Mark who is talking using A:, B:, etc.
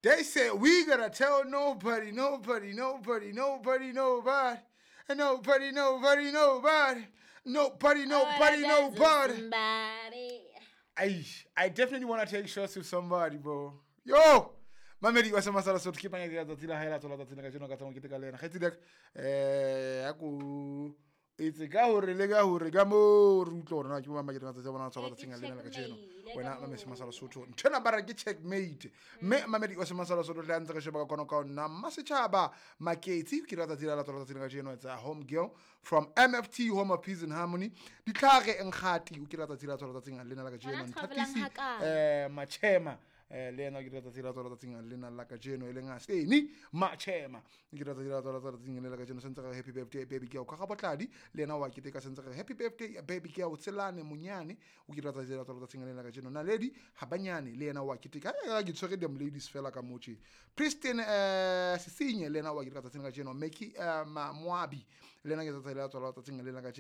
A: They said we gotta tell nobody, nobody, nobody, nobody, nobody. And nobody, nobody, nobody. Nobody, nobody, nobody.
B: Somebody.
A: I definitely want to take shots with somebody, bro. Yo! Mamedi wa Semasala Sotho ke panya ya tsatsi la hae la tswala tsatsi la kajeno ka tsamo keteka le yena. Kgaitsedi ya ka, a ko etse ka hore le ka hore ka moo re utlwe hore na ke bo mang ba keteka matsatsi a bona a tswala tsatsing lena la kajeno.
B: Checkmate,
A: Wena
B: ka
A: Mamedi
B: moo.
A: Semasala Sotho. Nthwena ba re ke checkmate. Mme Mamedi wa Semasala Sotho le ha ntse re sheba ka kwano ka ho nna Mmasetjhaba Maketsi ke la tsatsi la tswala tsatsing la kajeno. It's a home girl from MFT, Home of Peace and Harmony. Ditlhare Nkgati o ke la tsatsi la tswala tsatsing lena la kajeno.
B: Ngwana a travelang
A: Nthatisi,
B: hakae?
A: Machema, le yena o ke la tsatsi la tswala tsatsing lena la kajeno, e leng a Steny Machema. Ke la tsatsi la tswala tsatsing lena la kajeno. Sentse re happy birthday baby girl ka Rabotladi, le yena wa keteka. Sentse re happy birthday baby girl Tselane Monyane, o ke la tsatsi la tswala tsatsing lena la kajeno. Naledi Habanyane le yena wa keteka. Ke tshwere them ladies fela ka motje. Pristine, Sesinye le yena wa keteka tsatsing la kajeno. Meki, Moabi le yena ke tsatsi la tswala tsatsing lena la kajeno.